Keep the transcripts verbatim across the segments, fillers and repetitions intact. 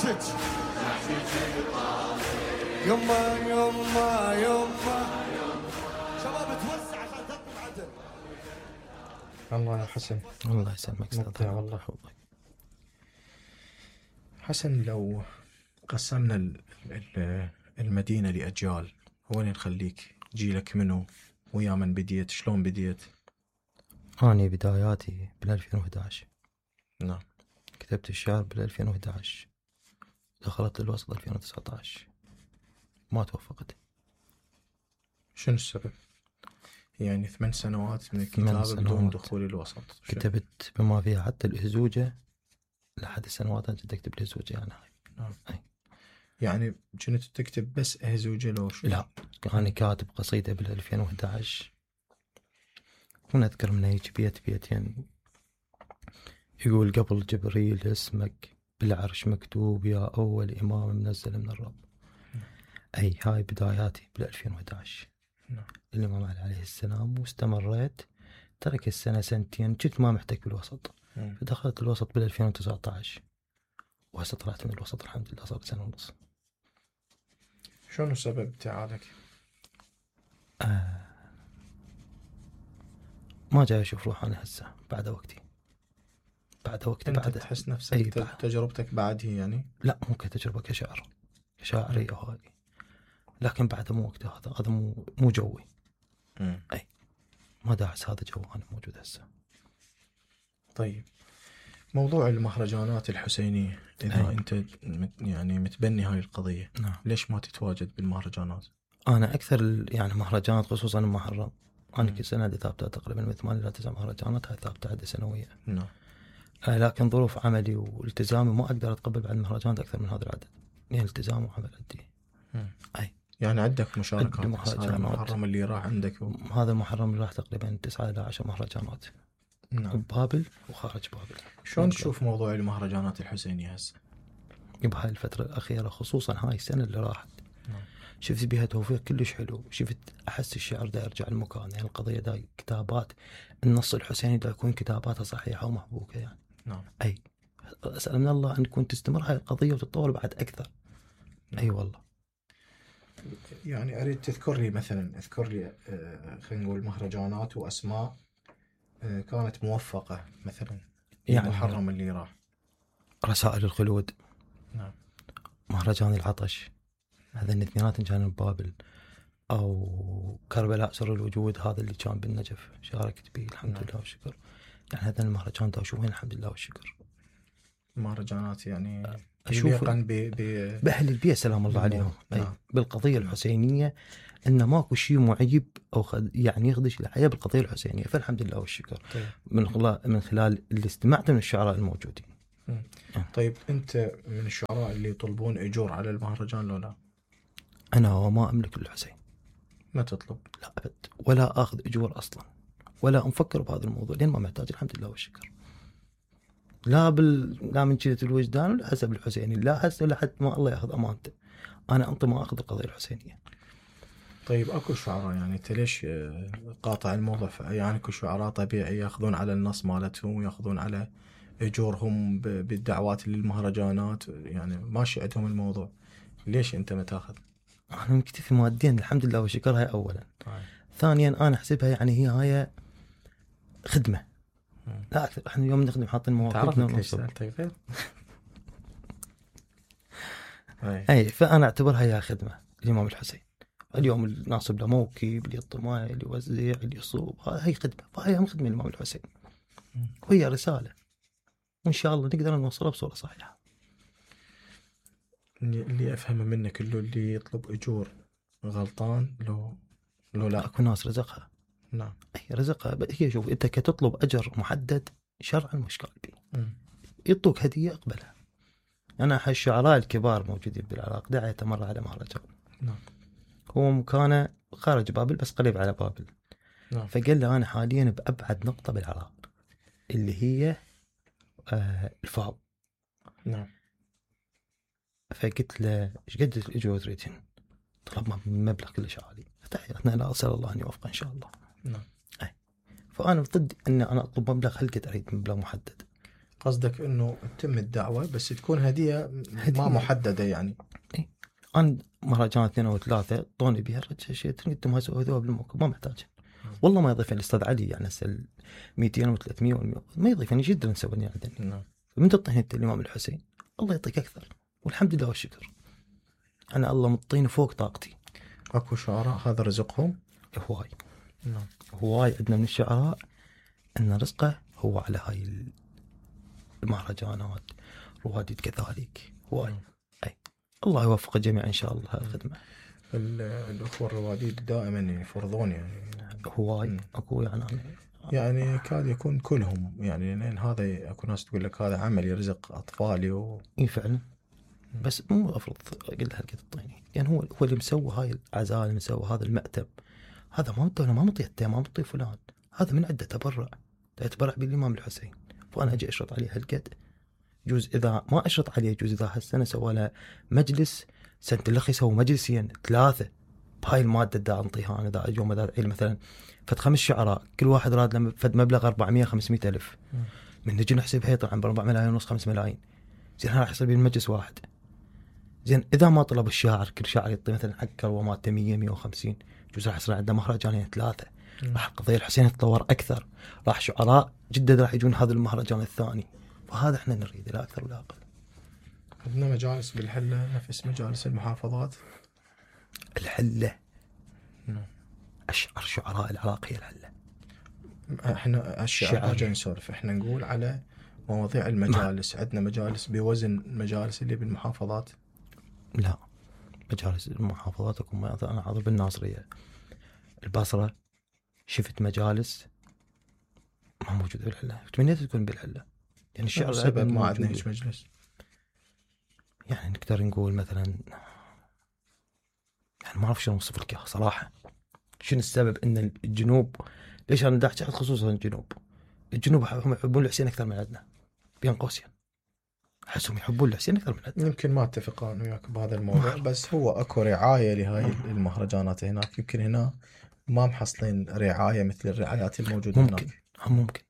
نحشج يما يما يما شباب توسع عشان تطلع عدل. الله يا حسن. الله يسلمك استاذ. والله يحفظك حسن. لو قسمنا المدينة لأجيال، وين نخليك؟ جيلك منو؟ ويا من بديت؟ شلون بديت؟ أنا بداياتي بالألفين وإحدى عشر. نعم. كتبت الشعر بالألفين وإحدى عشر، دخلت للوسط ألفين وتسعة عشر، ما توفقت. شنو السبب؟ يعني ثمان سنوات من الكتابة بدون دخول الوسط. كتبت بما فيها حتى الهزوجة لحد السنوات أنت تكتب الهزوجة يعني هاي. نعم. أي. يعني كنت تكتب بس هزوجة لو شو؟ لا، أنا كاتب قصيدة بالألفين وإحدى عشر، كنت أذكر من هيك بيت بيتين يقول: قبل جبريل اسمك بالعرش مكتوب يا أول إمام منزل من الرب. أي هاي بداياتي بالألفين وإحدى عشر. الإمام علي عليه السلام، واستمريت. ترك السنة سنتين كنت ما محتاج بالوسط، فدخلت الوسط بالألفين وتسعة عشر، وهسه طلعت من الوسط الحمد لله صار سنة ونص. شنو سبب ابتعادك؟ آه ما جاي أشوف روح أنا هسه بعد وقتي، بعد وقتي. أنت بعد تحس نفسك أي تجربتك بعده يعني؟ لا، مو كتجربة، كشعر كشاعرية هاي، لكن بعد مو وقته، هذا هذا مو مو جوي. مم. أي ما داعس هذا جو أنا موجود هسه. طيب، موضوع المهرجانات الحسينية، إذا أي. أنت يعني متبني هاي القضية، نعم. ليش ما تتواجد بالمهرجانات؟ أنا أكثر يعني مهرجانات خصوصا المحرم، أنا كل سنة ثابتة تقريبا من ثمانية إلى تسع مهرجانات، هاي ثابتة عدة سنوية. نعم. آه لكن ظروف عملي والتزامي ما أقدر أتقبل بعد مهرجانات أكثر من هذا العدد، يعني التزام وعمل عندي. أي يعني عندك مشاركات مهرجانات. المحرم اللي راح عندك و... هذا المحرم اللي راح تقريبا تسعة إلى عشر مهرجانات. نعم. ببابل وخارج بابل. شلون تشوف موضوع المهرجانات الحسينية هسه؟ بهاي الفترة الأخيرة خصوصا هاي السنة اللي راحت، نعم. شفت بها توفيق كلش حلو. شفت أحس الشعر دا يرجع المكان، يعني القضية دا كتابات النص الحسيني دا يكون كتاباتها صحيحة ومحبوكة يعني. نعم. أي أسأل من الله أن تكون تستمر هاي القضية وتتطور بعد أكثر. نعم. أي والله. يعني أريد تذكر لي مثلا، اذكر لي آه خلينا نقول مهرجانات وأسماء آه كانت موفقة مثلا يعني المحرم اللي راح. رسائل الخلود. نعم. مهرجان العطش، هذا الاثنينات كانوا ببابل. أو كربلاء سر الوجود، هذا اللي كان بالنجف شاركت به الحمد نعم. لله والشكر. يعني هذا المهرجان دا أشوفين الحمد لله والشكر. مهرجانات يعني أشوف ب... ب... بأهل البيئة سلام الله عليهم. نعم. بالقضية الحسينية إن ماكو شيء معيب أو خد يعني يخدش الحياة بالقضية الحسينية، فالحمد لله والشكر. طيب. من خلال من خلال اللي استمعت من الشعراء الموجودين. م. طيب أنت من الشعراء اللي يطلبون أجور على المهرجان لو لا؟ أنا وما أملك الحسين. ما تطلب؟ لا أبد، ولا أخذ أجور أصلا، ولا أفكر بهذا الموضوع لين ما محتاج الحمد لله والشكر. لا بال لا من شدة الوجدان ولا حسب الحسيني، لا هسه لحد ما الله ياخذ أمانته. أنا أنت ما أخذ القضية الحسينية. طيب أكو شعراء يعني أنت ليش قاطع الموضوع؟ يعني أكو شعراء طبيعي يأخذون على النص مالتهم ويأخذون على أجورهم بالدعوات للمهرجانات، يعني ماشي عندهم الموضوع، ليش أنت ما تأخذ؟ أنا مكتفي ماديا الحمد لله والشكر، هاي أولا. طيب. ثانيا أنا أحسبها يعني هي هاي خدمة مم. لا أكثر. إحنا اليوم نخدم حاطين مواقفنا ونصب. طيب. أي فأنا أعتبرها هي خدمة الإمام الحسين. اليوم الناصب له موكب، اللي يطمع، اللي يوزع، اللي يصوب، هاي خدمة، فهي هم خدمة الإمام الحسين، وهي رسالة، وإن شاء الله نقدر نوصلها بصورة صحيحة. اللي أفهمه منك اللي اللي يطلب أجور غلطان لو لو لا أكو ناس رزقها. نعم. أي رزقها هي. شوف أنت كتطلب أجر محدد شرعا مش قلبي، م. يطلق هدية أقبلها. أنا أحد الشعراء الكبار موجودين بالعراق دعيته مرة على مهرجان. نعم. هو مكانه خارج بابل بس قريب على بابل. نعم. فقال له أنا حاليا بأبعد نقطة بالعراق اللي هي آه الفاو. نعم. فقلت له إيش قد الأجور تريدين؟ طلب مبلغ كلش عالي. فتحياتنا لا أسأل الله أن يوفق إن شاء الله. نعم. أي. فأنا ضد أن أنا أطلب مبلغ، هل قد أريد مبلغ محدد؟ قصدك انه تتم الدعوه بس تكون هديه, هدية. ما محدده يعني. إيه؟ انا مهرجان اثنين او ثلاثه طوني بها شيء انتم ما سويتوها بالموقف ما محتاج والله ما يضيفني الاستاذ علي يعني هسه مئتين وثلاثمية ما يضيفني جدا نسوي عندنا. نعم. من تعطيني انت الامام الحسين الله يعطيك اكثر والحمد لله والشكر. انا الله مطيني فوق طاقتي. اكو شعراء هذا رزقهم هواي. نعم. هواي عندنا من الشعراء ان رزقه هو على هاي المهرجانات رواديد كذلك هواي. اي الله يوفق الجميع ان شاء الله هالخدمه. الاخوه الرواديد دائما يفرضون يعني هواي اكو يعني يعني كاد يكون كلهم يعني لان هذا اكو ناس تقول لك هذا عمل يرزق اطفالي و... اي فعلا بس مو افرض قلت لها قد الطيني يعني هو هو اللي مسوي هاي العزاء اللي مسوي هذا المأتب هذا ما مطي ما مطي ما مطي فلان هذا من عنده تبرع يتبرع بالامام الحسين فانا اجي اشرط عليه هالقد جوز اذا ما اشرط عليه جوز اذا هالسنه سوى له مجلس سنه الاخ يسوي مجلسين ثلاثه بهاي الماده دا انطيها انا دا يوم دا مثلا فد خمس شعراء كل واحد راد له فد مبلغ أربعمية خمسمية الف من نجي نحسبها يطلع عن أربعة ملايين ونص خمس ملايين زين راح يصير بالمجلس واحد. زين اذا ما طلب الشاعر كل شاعر يعطي مثلا حق كروه مالته مية مية وخمسين جوز راح يصير عنده مهرجانين ثلاثه راح القضيه الحسين تتطور اكثر راح شعراء جدا راح يجون هذا المهرجان الثاني فهذا احنا نريد لا اكثر ولا اقل. عندنا مجالس بالحله نفس مجالس المحافظات. الحله اشعر شعراء العراق هي الحله. احنا الشعر جاي نسولف احنا نقول على مواضيع المجالس. عندنا مجالس بوزن المجالس اللي بالمحافظات. لا مجالس المحافظات اكو انا حاضر بالناصريه البصره شفت مجالس ما موجوده بالحله تمنيت تكون بالحله يعني الشعر سبب ما عندنا هيك مجلس يعني نقدر نقول مثلا يعني ما اعرف شلون اوصف لك صراحه شنو السبب ان الجنوب ليش انا دا احكي خصوصا الجنوب الجنوب هم يحبون الحسين اكثر من عندنا بين قوسين احسهم يحبون الحسين اكثر من عندنا. يمكن ما اتفق انا وياك بهذا الموضوع بس هو اكو رعايه لهاي المهرجانات هناك يمكن هنا ما محصلين رعايه مثل الرعايات الموجوده ممكن. هناك. هم ممكن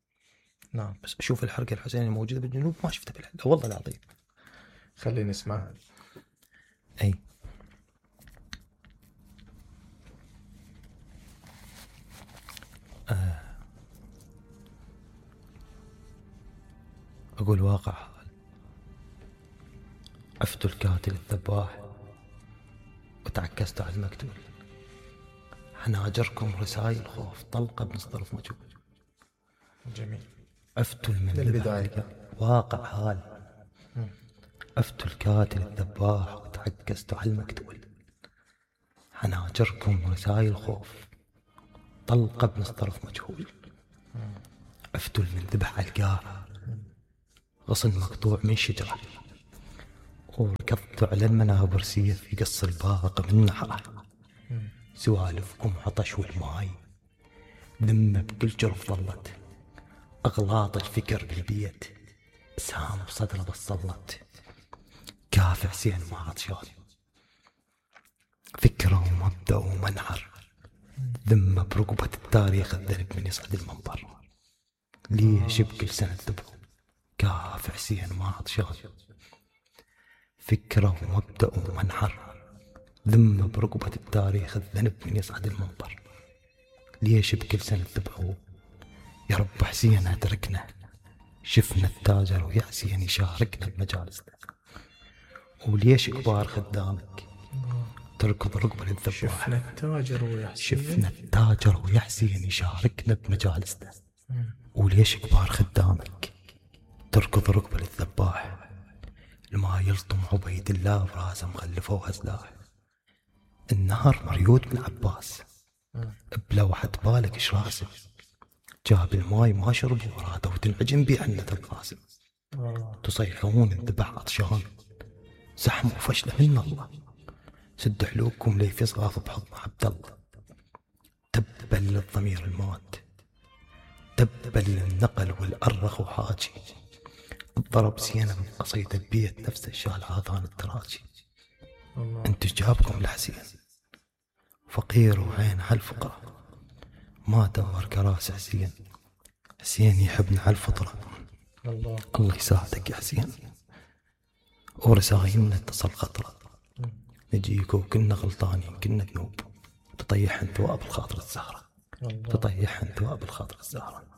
نعم بس اشوف الحركه الحسينيه الموجوده بالجنوب ما شفتها بالحله والله العظيم. خلينا نسمعها. اي آه. اقول واقع حال عفت الكاتل الذباح وتعكست على المقتول حناجركم رسائل خوف طلقه بنصطرف مجهول. جميل. عفت من البدايه واقع حال عفت الكاتل الذباح وتعكست على المقتول حناجركم رسائل خوف طلقه بنصطرف مجهول. عفت من ذبح على القاع غصن مقطوع من شجره وركضت على المنابر سيف في قص الباق من نحره. سوالفكم عطش والماي ذمه بكل جرف ظلت اغلاط الفكر بالبيت سام بصدره بصلت كافع حسين ما عطشان فكره ومبدأ ومنعر ذمه برقبه التاريخ الذنب من يصعد المنبر ليش بكل سنه ذبحوا كافع حسين ما عطشان فكره ومبدأ ومنحر ذمه برقبه التاريخ الذنب من يصعد المنبر ليش بكل سنه ذبحوا يا رب حسين ادركنا شفنا التاجر ويا حسين يشاركنا بمجالسنا وليش كبار خدامك تركض رقبه للذبح. شفنا التاجر ويا حسين شفنا التاجر ويا حسين يشاركنا بمجالسنا وليش كبار خدامك تركض رقبه للذباح. لما يلطم عبيد الله براسه مخلفوها سلاح النهر مريود من عباس بلوحة بالك ايش راسم جاب الماي ما شرب وراده وتنعجن بيه حنة القاسم تصيحون الذبح عطشان زحموا وفشله من الله سد حلوكم ليفي صغاف بحضن عبد الله تبا للضمير المات تبا للنقل والأرخ وحاجي الضرب سينا من قصيدة بيت نفس الشال عاضان التراجي. انت جابكم لحسين فقير وعين هالفقرة ما دور كراس حسين حسين يحبنا على الفطرة الله الله يساعدك يا حسين. ورسايلنا اتصل خطرة، نجيك وكنا غلطانين كنا ذنوب، تطيح انت وابو الخاطر الزهرة، الله تطيح انت وابو الخاطر الزهرة.